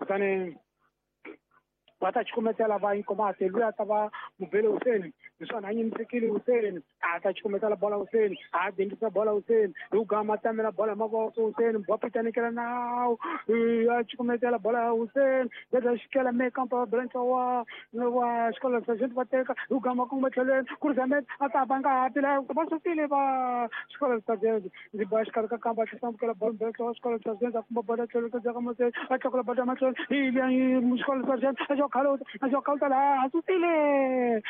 Kutani va ta cukumetela va Inkomati, luya ta va mubele Huseni, naswona a nyimisekile Huseni, a ta cukumetela bola Huseni, a dendisa bola Huseni, hi gama tamela bola mavoko Huseni, bopita nikela nawu, a cukumetela bola ya Huseni, beda xikela me kampa va bela ntlawa wa xikolo sergeant va teka, hi gama kongoma tlhelweni, ku ri Zamet a ta ba ngati la va sukile va xikolo sergeant, ndzi ba xikarhi ka kamba a tlhela bola bela ntlawa xikolo sergeant a kumba bola tlhelo ka ka mahlweni, a tlakula bola mahlweni, hi liya xikolo sergeant a xo khaluta, a xo khaluta laha a sukile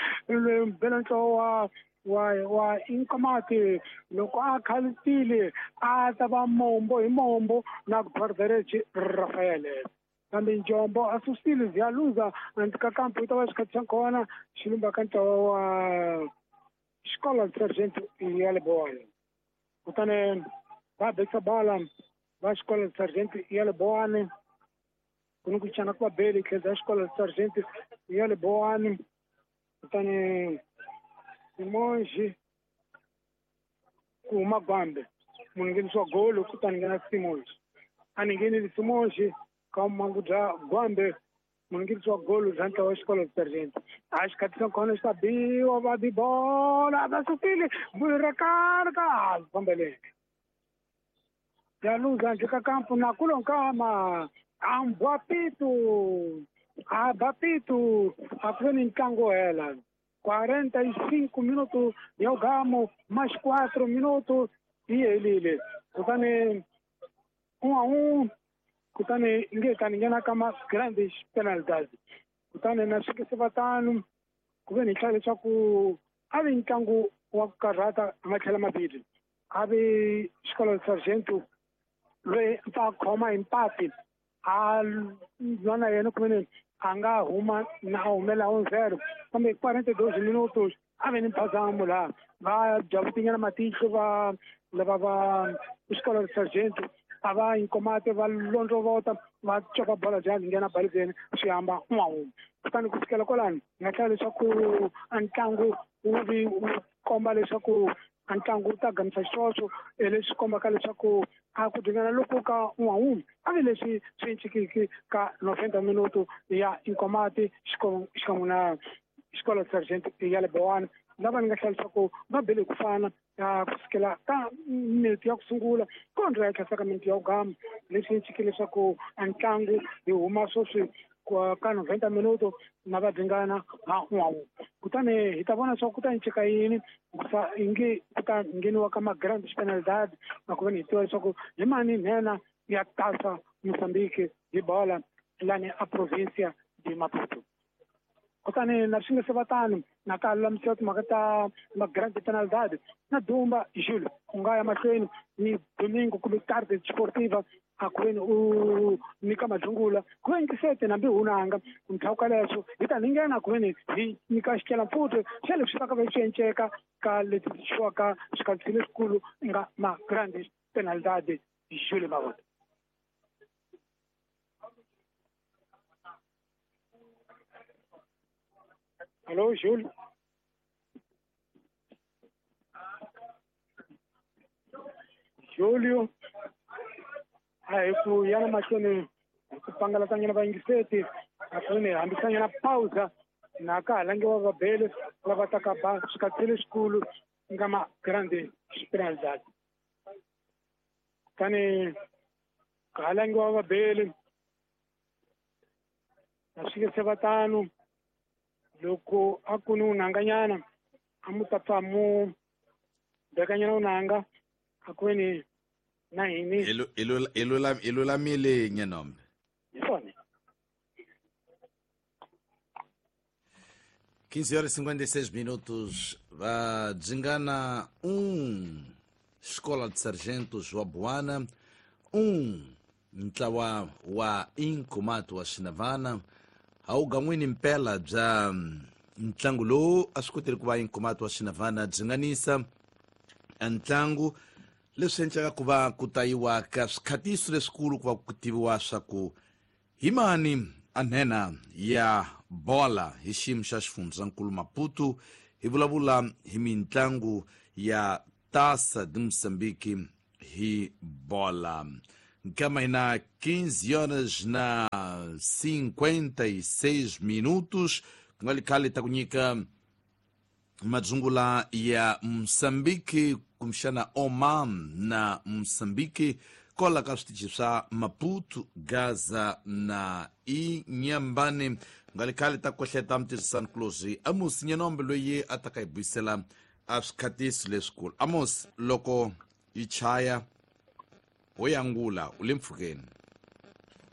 bela ntlawa wa Inkomati. Loko a khalutile a ta va mombo hi mombo na guardareci Rafael, kambe Njombo a susile ziyaluza ka kampo yi ta va xikhathi xa kona xilumba ka ntlawa wa xikolo sergeant ya le Boane. Kutani va bekisa bola va xikolo sergeant ya le Boane, ku ni ku cana ku va beli tlhela xikolo sergeant ya le Boane. Kutani Simonji ku huma Gwambe, munhu nghenisiwa golo, kutani nghena Simonji, a ni nghenile Simonji ka mangu bya Gwambe, munhu nghenisiwa golo bya ntlawa wa xikolo sergeant. A xikhathi xa kona xi ta biwa va bi bola va sukile ra ka fambeleke ya luza handle ka kampo na kulo nkama ambwa pitu a ba pitu a ku ve ni ntlangu hela 45 minutos ya gamo mais 4 minutos yi helile. Kutani 1-1, kutani nge tani nghena ka ma grandes penalidades. Kutani na swi se va tano ku ve ni hlaya leswaku a vi ntlangu wa ku karhata matlhela mabili, a vi xikolo sargento loyi a khoma hi mpati a lwa na yena ku ve a nga huma na a humela 1-0, kambe 42 minutos a ve ni mphazamo laha va javutinyana matihlo va lava va xikolo sargento a va Inkomati va londlovota va copa bola bya nghena balibeni swi hamba 1-1. Kutani ku fikela kwalani nga hlaya leswaku a ntlangu wu vi wu komba leswaku a ntlangu wu ta gamisa xiswoswo, leswi kombaka leswaku a ku dingana loko ka 1-1 a vi leswi swi ncikiki ka 90 minuto ya Inkomati xikan'we na xikolo sergeant ya le Boane, lava ni nga hlaya leswaku va bele ku fana ku sukela ka minute ya ku sungula kondlo ya tlhasa ka minute ya ku gama, leswi nciki leswaku a ntlangu hi huma sweswi ka 90 minuto na va dingana ha 1-1. Kutani hi ta vona leswaku ku ta ncika yini sa inge ku ta ngheniwa ka ma grand penalidade, na ku ve ni hi tiva leswaku hi mani nhenha ya tasa Mozambique hi bola lani a provincia de Maputo. Kutani na swi nga se va tano na ka lulamisiwa timhaka ta ma grand penalidade na Dumba Jules u nga ya mahlweni ni Domingo kumbe tarde sportiva a ku veni u nyika madlungula ku veni tisete nambi hunanga ndzhaku ka leswo hi ta ni nghena ku veni hi nyika xikelampfutwe xa leswi va ka va swi enceka ka leti tixiwaka swikhathi leswikulu nga ma grand penalidade Jules Mavota. Alô, Júlio. Júlio. A hi ku yana mahlweni hi ku pangalatanyana vayingiseti a ku ni hambisanyana pausa na ka ha langiwa vabele lava taka ba swikhathi leswikulu nga ma grande penalidade. Kutani ka ha langiwa vabele na swi nge se va tano loko a ku ni unanganyana a mu ta pfa mu bekanyana unanga a ku ni na hini i lulamile Nyenombe. Hi swona. 15 horas e 56 minutos, va Dzingana 1, Escola de Sargentos wa Buana 1, ntlawa wa Inkomati wa Xinavana. A wu gan'wini mpela bya ntlangu lowu a swi koteli ku va Inkomati wa Xinavana dzinganisa ntlangu, leswi endlaka ku va ku tayiwa ka swikhatiso leswikulu ku va ku tiviwa swa ku hi mani a nhenha ya bola hi xiyimo xa xifundzankulu Maputo. Hi vulavula hi mintlangu ya Taça de Moçambique hi bola. Nkama hina 15 horas na 56 minutos. Ku nga li khale ta ku nyika madzungula ya Mosambiki, kumbexana Oman na Mosambiki, kola ka switichi swa Maputo, Gaza na Inyambane. Ku nga li khale ta kohleta mutirhisani kulozi Amos Nyanombe, loyi a ta ka hi buyisela a swikhatiso leswikulu. Amos, loko yi chaya ho yangula, u le mpfhukeni.